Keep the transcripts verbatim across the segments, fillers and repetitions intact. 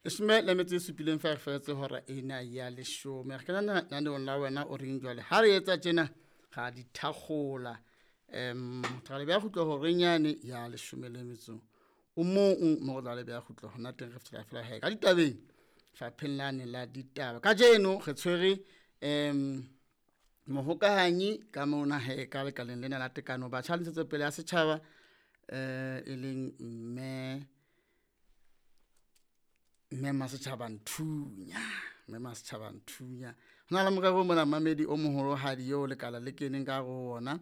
Leshome le metso e supileng fa re fetse hora ena ya leshome. Re kena lenaneong la wena o reng jwale. Ha re etsa tjena ra di thakgola. Um ra le beha kgutlo horeng yane ya leshome le metso o mong mo re tla le beha kgutlo hona teng re fihlela fela he ka ditabeng fapheng lane la ditaba. Kajeno re tshwere um mohokahanyi ka mona he ka lekaleng lena la tekano batjha le ntshetsopele ya setjhaba eh e leng mme mme Masetjhaba Nthunya, mme Masetjhaba Nthunya. Ho na le morero mona mamedi o moholohadi eo lekala le keneng ka hare ho ona.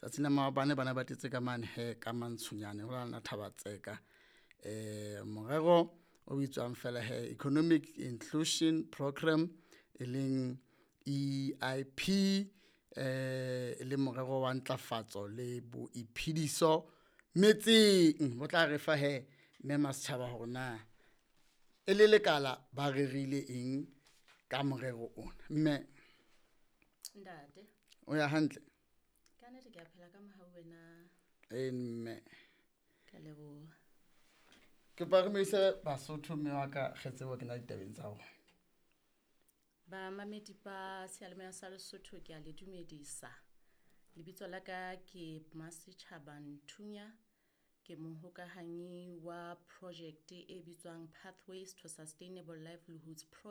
Tsatsing la maobane bana ba tletse ka mane he ka mantshonyane ho la Thaba Tseka. Eh morero o bitswang fela he Economic Inclusion Programme e leng E I P eh e le morero wa ntlafatso le boiphediso metseng. Bo tla re fa he mme Masetjhaba hore na e le lekala ba rerile eng ka morero ona. Mme Ntate. O ya hantle? Ka nnete ke a phela ka mohau wena. Eh mme. Ka leboha. Ke pa re moise Basotho mme wa ka re tsebe ho kena ditabeng tsa rona. Bamamedi ba seyalemoya sa Lesotho ke a le dumedisa. Lebitso la ka ke Masetjhaba Nthunya. Ke mohokahanyi wa project e bitswang Pathways to Sustainable Livelihoods Project.